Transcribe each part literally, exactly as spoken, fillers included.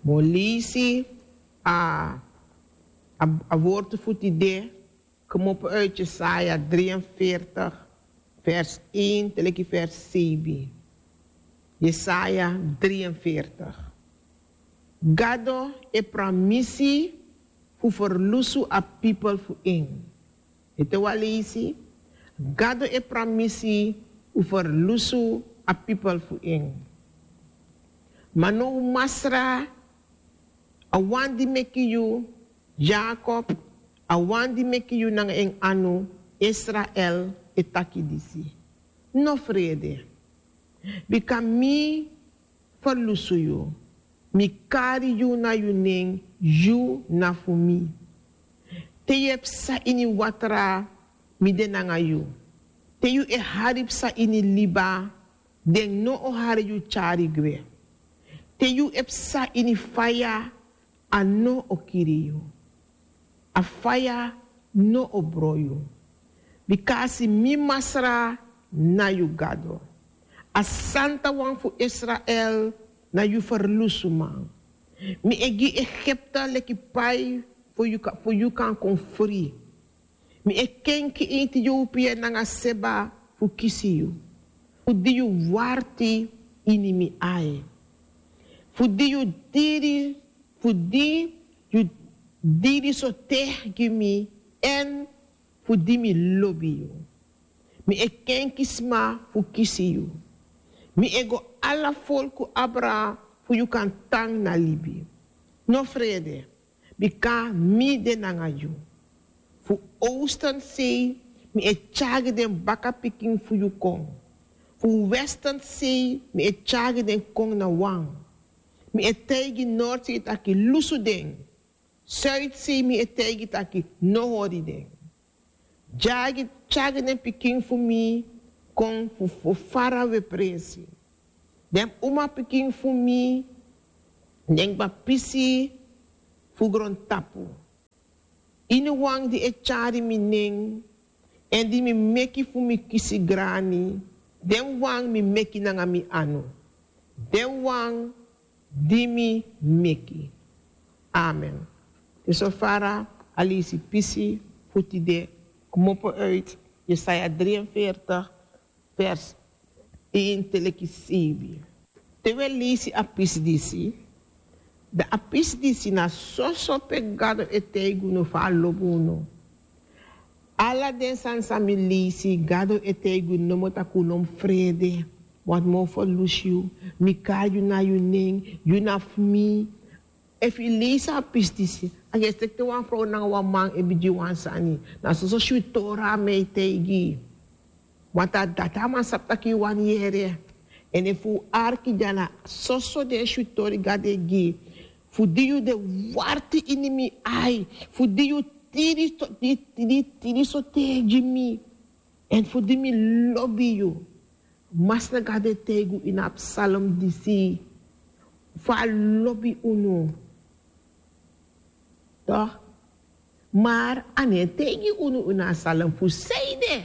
Molisi a a wortu fu tide. Kmopo uit Jesaja drie en veertig, vers een teleki vers zeven. Jesaja drie en veertig. Gado e pramisi fu ferlusu a pipel fu en. Ete wan leisi. Gado e pramisi fu ferlusu a pipel fu en. Ma no masra, a wan di meki yu, Jakob, a wan di meki yu nanga en anu, Israel, e taki disi. No frede. Bika mi ferlusu yu. Mi kari yu na yu nen, yu na fu mi. Te yu e psa ini watra, mi de nanga yu. Te yu e hari psa ini liba, den no o hari yu tyari gwe. Te yu e psa ini faya, a no o kiri yu. A faya no o bron yu. Bika a si mi masra na yu Gado. A Santa Wan fu Israel na yu ferlusuman. Mi e gi Egipte leki pai fu yu kan kon fri. Mi e kenki Etiopia nanga Seba fu kisi yu. Fu di yu warti ini mi ai. Fu di yu diri, fu di yu diri so te gi mi, èn fu di mi lobi yu. Mi e kenki sma fu kisi yu. Mi e go ala folku abra fu yu kan tan na libi. No frede. Bika mi de nanga yu. Fu osten sei mi e tyari den baka pikin fu yu kon. Fu westen sei mi e tyari den kon na wan. Mi e taigi nord sei taki lusu den. Suid sei mi e taigi taki no hori den. Tyari tyari den pikin fu mi kon fu fu farawe presi. Den umapikin fu mi, den kba pisi fu grontapu. Ini wan di e tyari mi nen, èn di mi meki fu mi kisi grani, den wan mi meki nanga mi anu. Den wan di mi meki. Amen. Te so fara a leisi pisi fu tide kmopo uit Jesaja drie en veertig, vers een teleki zeven. Te wi e leisi a pisi disi, dan a pisi disi na soso pe Gado e taigi unu fa a lobi unu. Ala den sani san mi leisi, Gado e taigi unu nomo taki un no mu frede. Want mi o ferlusu yu, mi kari yu na yu nen, yu na fu mi. Efu yu leisi a pisi disi, a yu e si taki te wan frow nanga wan man e bigin wan sani, na soso switori a man e taigi yu. Want a dati a man sabi taki yu wani yere. Èn efu un arki dya na soso den switori Gado e gi. Fu di yu de warti ini mi ai. Fu di yu tiri so di tiri tiri so taigi mi. Èn fu di mi lobi yu. Masra Gado e taigi unu ini a psalm disi fa a lobi unu. Toch? Mar a no e taigi unu ini a psalm fu sanede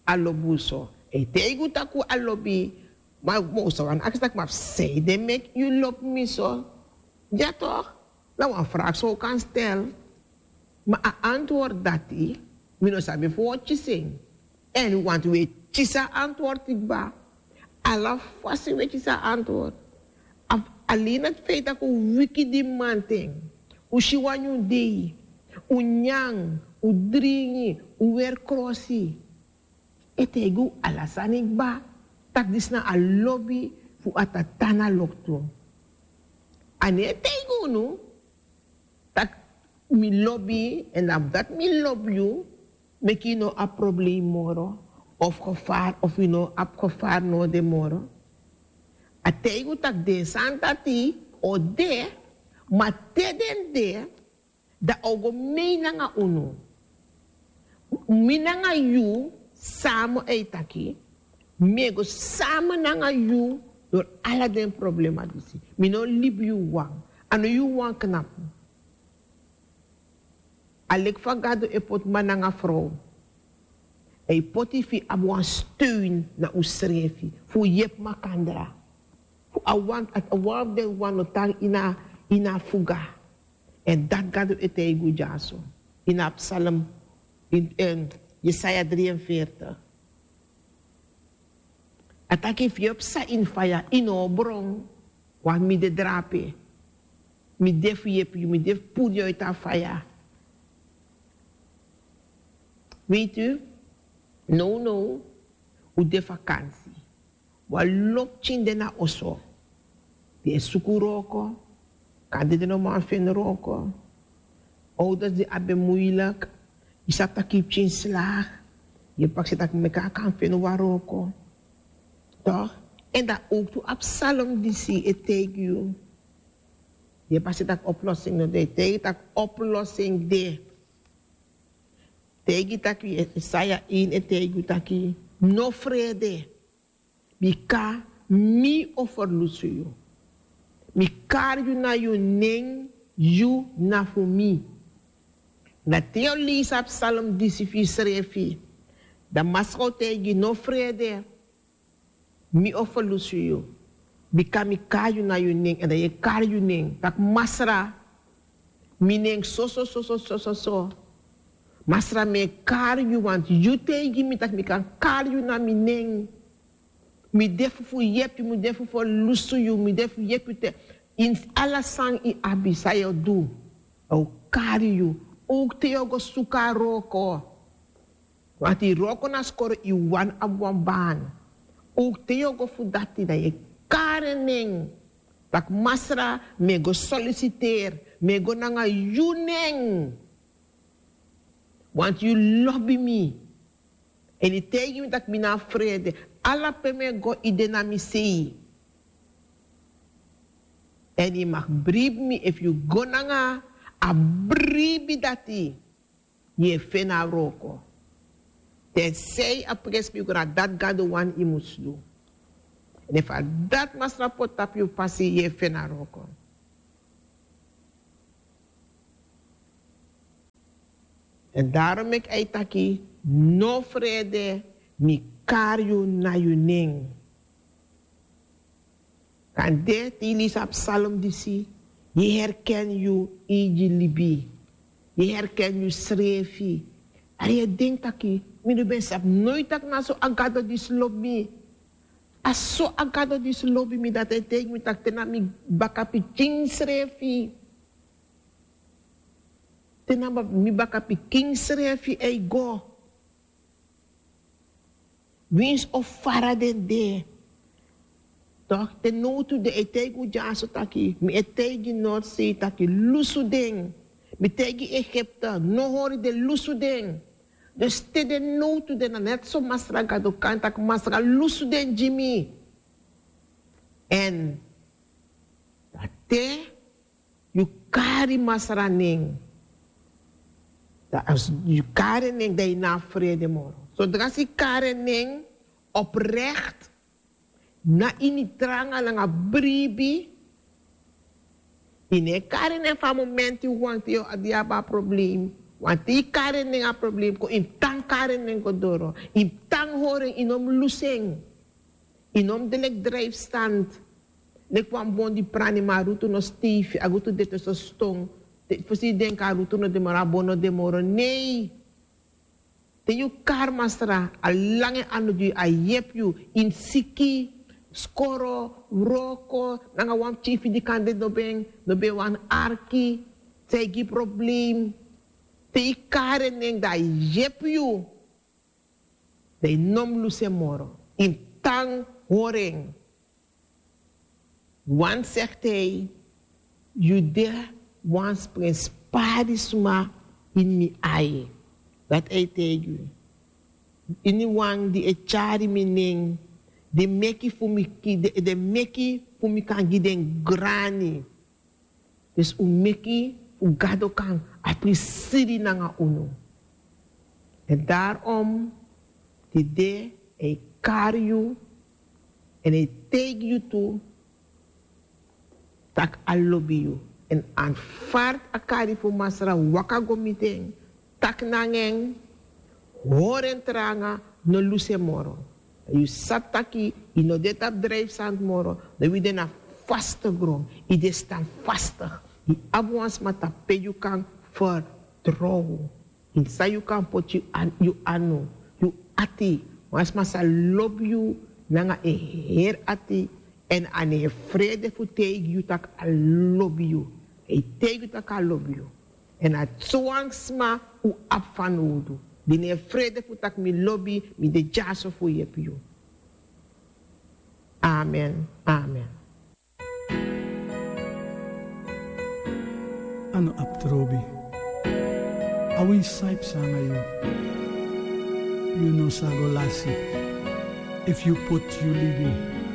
a lobi unu so. A e taigi unu taki a lobi. Ma un sa wani aksi taki ma fu sanede meki yu lobi mi so. Ya toch? Na wan vraag san un kan stel. Ma a antwoord dati mi no sabi efu un o kisi en. Èn want un e kisi a antwoord kba. Ala fasi un e kisi a antwoord. Alen na feit tak' un wiki di mamanten, un si wan nyun dei, un nyan, un dringi, un weri krosi. E taigi un ala sani kba, tak' disi na a lobi fu a Tata na loktu. A no e taigi unu tak' mi lobi yu, èn na fu dati mi lobi yu, meki yu no abi problem moro, of gevaar, of yu no abi gevaar no de moro. A taigi unu tak' den sani dati o de, ma te den de, dan a o go mei nanga unu. Mi nanga yu sama, a e taki, mi e go sama nanga yu dori ala den problema disi. Mi no libi yu wan. A no yu wan knapu. A leki fa Gado e poti man nanga frow. A e poti fu yu abi wan steun na unsrefi, fu un yepi makandra. Fu a wan, a wan fu den wan no tan ini a, Ini a fuga. Èn dati Gado e taigi unu dyaso ini a psalm, ini Yesaya dri en fertigi. A taki efu yu e psa ini faya, yu no o bron. Wan mi de drape. Mi de fu yepi yu, mi de fu puru yu uiti a faya. Weiti yu? Nownow un de vakansi. Wan lo pikin de na oso. Den e suku wroko. Kande den no man feni wroko. Ouders di abi en muilik. Yu sabi tak' yu pikin slagi. Yu e prakseri tak' meki a kan feni wan wroko. Toch? Èn dan owktu a psalm disi e taigi yu. Yu e prakseri tak' oplosing no de, e taigi tak' oplosing de. Taigi tak' yu, Yesaya ini e taigi yu tak' yu no frede. Bika mi o ferlusu yu. Mi kari yu na yu nen, yu na fu mi. Na te yu o leisi a psalm disi fu yusrefi, dan Masra o taigi yu no frede. Mi o ferlusu yu. Bika mi kari yu na yu nen, èn dan yu e kari yu nen tak' Masra, mi nen soso soso soso. Masra, mi e kari yu, want yu taigi mi tak' mi kan kari yu na mi nen. Mi de fu fu yepi, mi de fu ferlusu yu, mi de fu yepi yu te, ini ala san yu abi san yu o du. A o kari yu. Owktu te yu o go suku a wroko. Want yu wroko na skoro, yu wani abi wan baan. Owktu te yu o go fu dati, dan yu e kari en nen. Tak' Masra, mi e go solisiteri, mi e go nanga yu nen. Want yu lobi mi. Èn yu taigi mi tak' mi no abi frede. Ala pe mi e go, yu de na mi sei. Èn yu mag bribi mi efu yu go nanga a bribi dati. Yu e feni a wroko. Tensei a presi mi go, na dati Gado wani yu mus du. Èn efu a dati Masra poti tapu yu pasi, yu e feni a wroko. Èn daarom meki a e taki: No frede, mi kari yu na yu nen. Kande te yu leisi a psalm disi, yu e herken yu eigi libi. Yu e herken yusrefi. Èn yu e denki taki: Mi no ben sabi noiti taki na so a Gado disi lobi mi. A so a Gado disi lobi mi, dati a e taigi mi taki te na mi bakapikin srefi. Te na mi bakapikin srefi a e go. Winsi o fara den de. Toch, te nowtu den e taigi un dyaso taki, mi e taigi Noordzee taki lusu den. Mi taigi Egipte, no hori den, lusu den. Dus te den nowtu den, na net so Masra Gado kan taki: Masra, lusu den gi mi. Èn dan te yu kari Masra nen, dan a yu kari en nen, dan yu no abi frede moro. Sodra yu kari en nen oprecht, na ini tranga nanga bribi, yu no e kari en nen fu a momenti wan te yu o abi a problem. Want te yu kari en nen, a problem kon, yu mus tan kari en nen go doro, yu mus tan hori en, yu no mus lusu en. Yu no mus de leki drijfstand. Leki wan bon di prani, ma a rutu no steifi, a rutu de te so ston. Te fosi yu denki a rutu no de moro, a bon no de moro. Nei. Te yu kari Masra, a langa en anu gi yu, a yepi yu ini siki, skoro, wroko, nanga wan pikin fu yu di kande no ben, no ben wani arki, san e gi problem. Te yu kari en nen, dan a yepi yu. Dan yu no mus lusu en moro. Yu mus tan hori en. Want, zegt hij, yu de wan sprenspari sma ini mi ai. Dati a e taigi yu. Iniwan di e tyari mi nen, den meki fu mi ki-, den, den meki fu mi kan gi den grani. Dus un meki fu Gado kan aprisiri nanga unu. Èn daarom tide a e kari yu èn a e taigi yu tu tak' a lobi yu. Èn anfard a kari fu Masra, waka go miti en, taki nanga en, hori en tranga, no lusu en moro. Yu sabi taki yu no de tapu drijfstand moro, dan wi de na vaste grond. Yu de standvastig. Yu abi wan sma tapu pe yu kan vertrouw. San yu kan poti yu anu, yu ati. Wan sma sa lobi yu nanga en heri ati. Èn a no e frede fu taigi yu tak' a lobi yu. A e taigi yu tak' a lobi yu. Èn a sowan sma un abi fanowdu, di no e frede fu taki mi lobi, mi de dyaso fu yepi yu. Amen. Amen. A no abi trobi. A win san e psa nanga yu. Yu no sa go lasi. Efu yu poti yu libi